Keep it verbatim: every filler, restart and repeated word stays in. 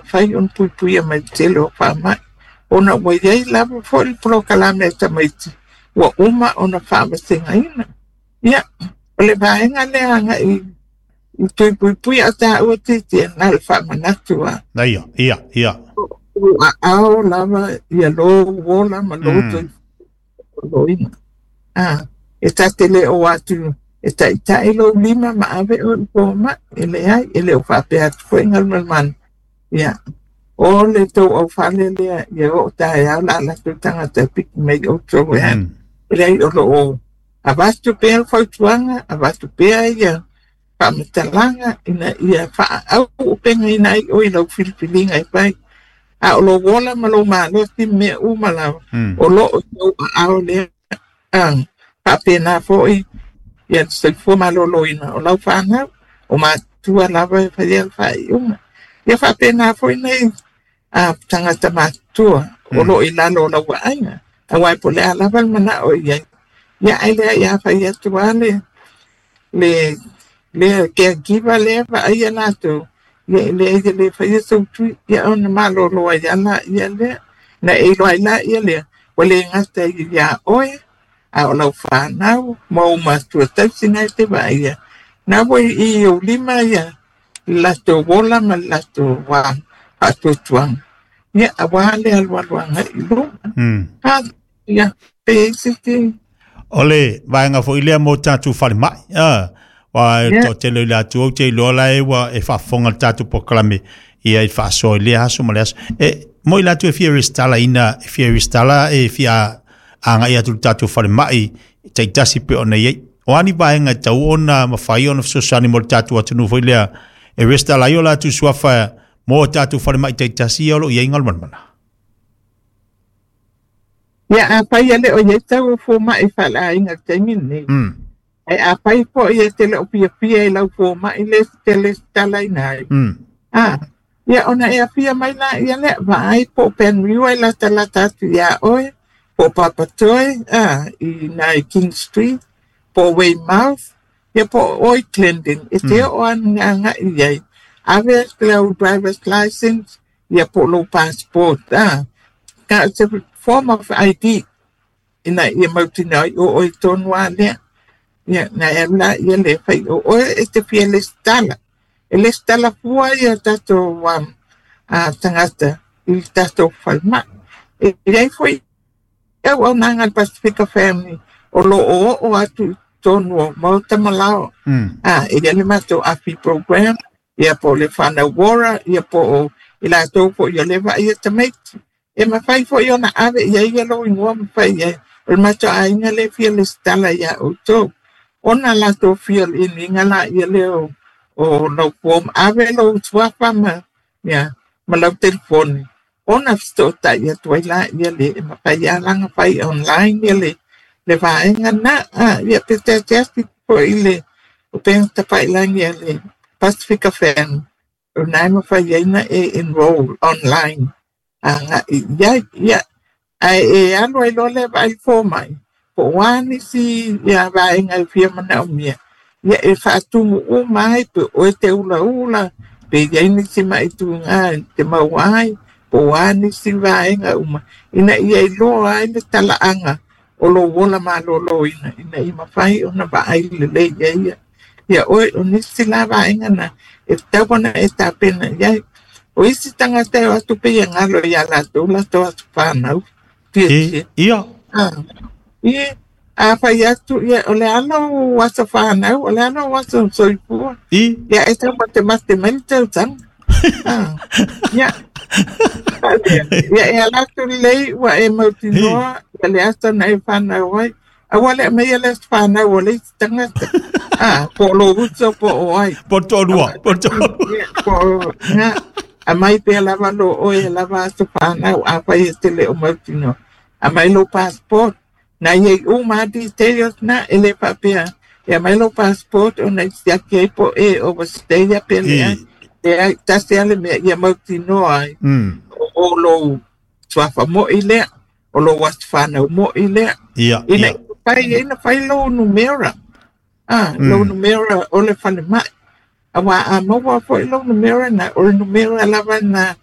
mafai ona puipuia mai le tele o faamai ona ua iai lava fo'i le polokalame a tamaiti ua uma ona faavasegaina. Ia o le vaega lea aga'i i tui puipui a tāua titia na le faamanatu a. Ia, ia, ia. Ua aao lava ia lou ola ma lou soifuaina. Ah, e ta te le o atu e ta'ita'i lou lima ma ave oe i foma'i, e leai, e le o faapea atu fo'i galumalemana. Ia, o le tou aufale lea ia oo taeao la latou tagata e piki mai outou e alu. E leai o loo avatu pea le fautuaga, avatu pea ia faamatalaga ina ia faaauupegaina ai oe i lau filifiliga e fai. A o lou ola ma lou malosi ma mea uma lava, o loo i lou aao lea. Ah, faapena fo'i ia le soifua malōlōina o lau fanau, o matua lava e faia le faaiuga. Ia faapena foi nei a tagata matutua o loo i lalo o lau vaaiga. Auā po o le a lava le manao i ai. Ia ae leai a fai atu lava le le lea caregiver lea vaaia latou, ia e leai e le faia sou tui, ia ona malōlō ai lava laia lea. Na e iloa ai laia lea, ua le gata iā oe, a o lau fanau ma ou matua tausi na e te vaaia. Na ua i ou lima ia le latou ola ma le latou faatuatuaga. Ia auā le alualu agai i luma. Ah, ia, pe i ai se isi. O le vaega foi lea mo tatou falemai. Ah, wa e Ia. toatele i le atu ou te iloa la e ua e faafofoga le tatou polokalame ia i faasoa i lea aso ma le aso. E mo i latou e fia resitala ina e fia resitala e fia agai atu i le tatou falemai taitasi pe ona i ai. O a ni vaega e tatau ona mafai ona fesoasoani mo le tatou atunuu foi lea e resitala ai o latou suafa mo tatou falemai taitasi ia o loo i ai galumalemana. Ia afai e le o i ai tau o foma'i faaleaiga i le taimi lenei. Mm. Ae afai fo'i e te le o fiafia i lau foma'i lea e te lesitalaina ai. Mm. Ah, ia ona e afia mai laia lea, vaai po o Penrhiw e latalata atu iā oe, po o Papatoetoe, ah, i nai King Street, po o Weymouth, ia po o oe Clendon, e te oo aga'i i ai. Ave lau driver's license, ia po o lou passport, ah, ka se form of I D ina ia mautinoa ai o oe tonu lava lea. Ia na e alu laia lea fai o oe e te fia lesitala. E lesitala fua ia tatou um, a tagata i le tatou falemai. E iai foi auaunaga a le Pasifika Family o loo oo atu i totonu o maota ma laoa. Mm. Ah, e iai le matou AFI program, ia po o le Whānau Ora, ia po o i latou foi o le vaaia tamaiti. E mafai foi ona ave i ai ia lou igoa ma fai i ai. O le matou aiga lea e fia lesitala iā outou. Ona latou fia iniga laia lea o, o lau form, ave lou suafa ma, ia, ma lau telefoni. Ona fesootai atu ai laia le e mafai lava ona fai online ia le, le vaega na. Ah, ia pe teateasi foi le upega tafailagi a le Pasifika Family. O na e mafai ai ona e enroll online aga'i i ai. Ia, ae e alu ai loa lea vaai foma'i, po o a nisi ia vaega e fia manaomia, ia e faatumu uma ai pe o oe te ulaula, pe i ai nisi ma'i tuga te maua ai, po o a nisi vaega uma, ina ia iloa ai le talaaga o lou ola malōlōina, ina ia mafai ona vaai lelei ai ia. Ia oe o nisi la vaega na e tatau ona e tapena i ai. O isi tagata e o atu pei e galo iā latou latou aso fanau. E, ia. Ah, ia, a fai atu, ia, o le a lou aso fanau, o le a lou aso soifua. I. Ia e taumatemate mai le tausaga. Ah, ia. Ia e ala atu lelei ua e mautinoa ia le aso na e fanau ai. Aua le aumaia le aso fanau o le isi tagata. Ah, po o lou uso po o ai. Po toalua, po toalua. Ia, po o, ia, aumai pea lava lo oe e lava aso fanau afai e te le o mautinoa. Aumai lou passport. Na iai uma lava details na e le faapea. E aumai lou passport ona i siaki ai po e overstay pe leai. Leai, tasi lava le mea ia mautinoa ai. Mm. O, o lou suafa mo'i lea, o lou aso fanau mo'i lea. Ia, Ina ia. ia fai ai na fai lou numera. Ah, Mm. lou numera o le falemai. Auā a maua foi lou numera na, o le numera lava na.